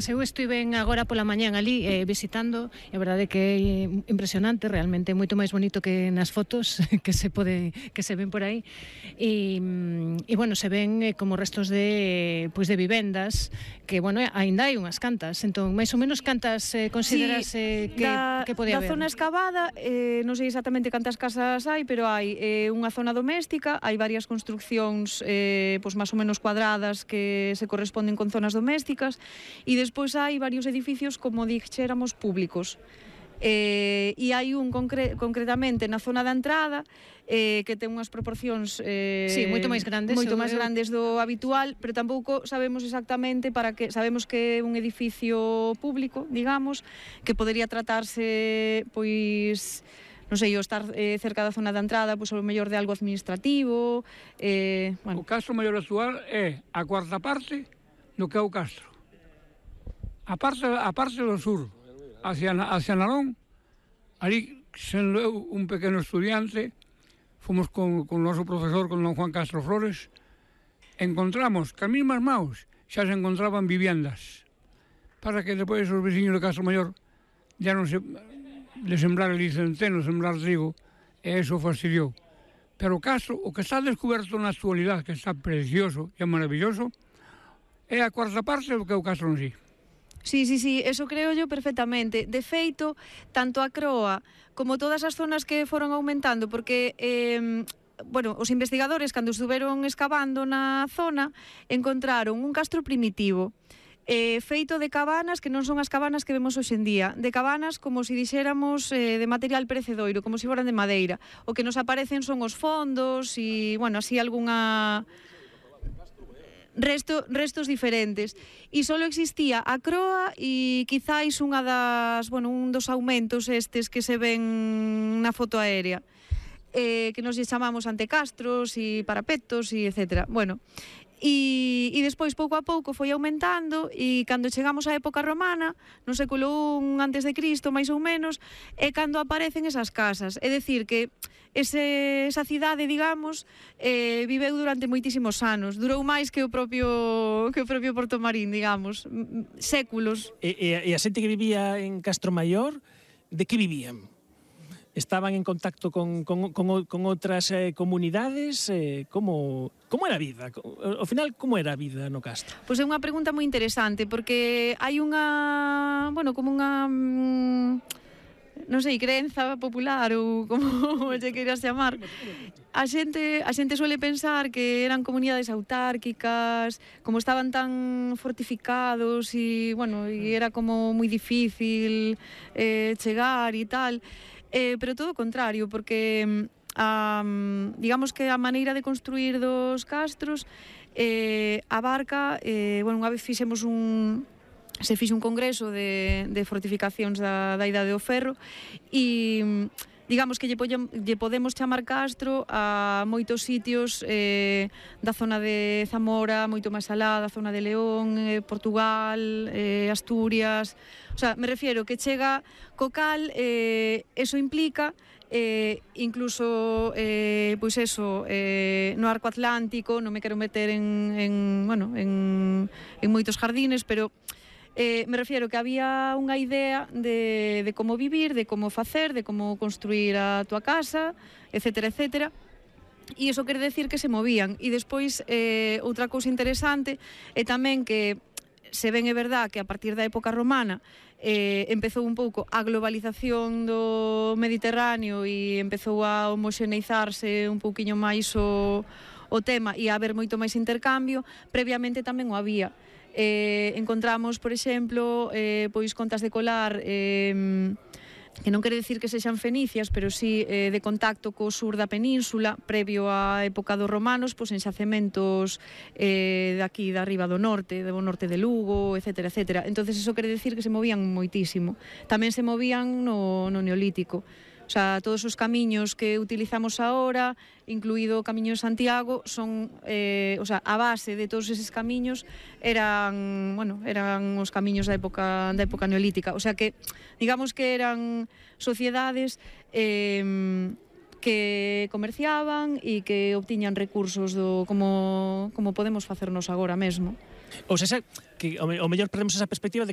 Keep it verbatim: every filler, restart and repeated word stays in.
Eu estiven agora pola mañán ali eh, visitando, e a verdade que é impresionante, realmente moito máis bonito que nas fotos que se pode que se ven por aí. E, e bueno, se ven eh, como restos de pois de vivendas que, bueno, aínda hai unhas cantas. Entón, máis ou menos cantas eh, consideras eh, sí, que, da, que pode haber? Da zona excavada, eh, non sei exactamente cantas casas hai, pero hai eh, unha zona doméstica, hai varias construccións eh, pois máis ou menos cuadradas que se corresponden con zonas domésticas, e despois hai varios edificios, como dixéramos, públicos. Eh, e hai un concre concretamente na zona da entrada eh, que ten unhas proporcións eh, sí, moito máis grandes moito eu, máis eu... grandes do habitual, pero tampouco sabemos exactamente para que sabemos que é un edificio público, digamos, que podería tratarse pois non sei, o estar eh, cerca da zona da entrada, pois o mellor de algo administrativo. Eh, bueno. O Castro Maior actual é a cuarta parte do que é o Castro. A parte, a parte do sur, hacia, hacia Narón, ali, sendo eu un pequeno estudiante, fomos con, con o noso profesor, con don Juan Castro Flores, encontramos que as mesmas maus xa se encontraban viviendas, para que depois os veciños de Castro Maior ya non se de sembrar ali centeno, sembrar trigo, e eso fastidiou. Pero o Castro, o que está descoberto na actualidade, que está precioso e maravilloso, é a cuarta parte do que é o Castro en sí. Sí, sí, sí, eso creo yo perfectamente. De feito, tanto a Croa como todas as zonas que foron aumentando, porque eh, bueno, os investigadores, cando estuveron excavando na zona, encontraron un castro primitivo eh, feito de cabanas que non son as cabanas que vemos hoxe en día, de cabanas como se dixéramos eh, de material perecedoiro, como se foran de madeira. O que nos aparecen son os fondos e, bueno, así algunha resto, restos diferentes, e só existía a croa e quizáis unha das, bueno, un dos aumentos estes que se ven na foto aérea, eh, que nos lle chamamos antecastros e parapetos e etcétera. Bueno, e, e despois pouco a pouco foi aumentando, e cando chegamos á época romana, no século un antes de Cristo, máis ou menos, é cando aparecen esas casas. É dicir que ese, esa cidade, digamos, eh, viveu durante moitísimos anos, durou máis que o propio que o propio Portomarín, digamos, séculos. E, e, e a xente que vivía en Castro Maior, de que vivían? Estaban en contacto con, con, con, con outras eh, comunidades? Eh, como, como era a vida? Ao final, como era a vida no Castro? Pois é unha pregunta moi interesante, porque hai unha, bueno, como unha non sei, creenza popular ou como lle queiras chamar. A xente, a xente suele pensar que eran comunidades autárquicas, como estaban tan fortificados e, bueno, e era como moi difícil eh, chegar e tal. Eh, pero todo o contrario, porque um, digamos que a maneira de construir dos castros eh, abarca, eh, bueno, unha vez fixemos un se fixe un congreso de, de fortificacións da, da Idade do Ferro, e digamos que lle, pollem, lle podemos chamar castro a moitos sitios eh, da zona de Zamora, moito máis alá, da zona de León, eh, Portugal, eh, Asturias. O sea, me refiero que chega co cal, eh, eso implica eh, incluso eh, pois eso, eh, no arco atlántico, non me quero meter en, en, bueno, en, en moitos jardines, pero Eh, me refiero que había unha idea de, de como vivir, de como facer, de como construir a tua casa, etcétera, etcétera. E iso quere decir que se movían. E despois, eh, outra cousa interesante é tamén que se ven, é verdad, que a partir da época romana eh, empezou un pouco a globalización do Mediterráneo e empezou a homoxeneizarse un pouquiño máis o, o tema e a haber moito máis intercambio. Previamente tamén o había. Eh, encontramos, por exemplo, eh, pois contas de colar eh, que non quere decir que sexan fenicias, pero sí eh, de contacto co sur da península, previo á época dos romanos, pois en xacementos eh, de aquí, de arriba do norte, do norte de Lugo, etcétera, etcétera. Entonces, eso quere decir que se movían moitísimo. Tamén se movían no, no Neolítico. O sea, todos os camiños que utilizamos ahora, incluído o Camiño de Santiago, son, eh, o sea, a base de todos eses camiños eran, bueno, eran os camiños da época da época neolítica. O sea que, digamos que eran sociedades eh, que comerciaban e que obtiñan recursos do como como podemos facernos agora mesmo. Ou seja, que o, me, o mellor perdemos esa perspectiva de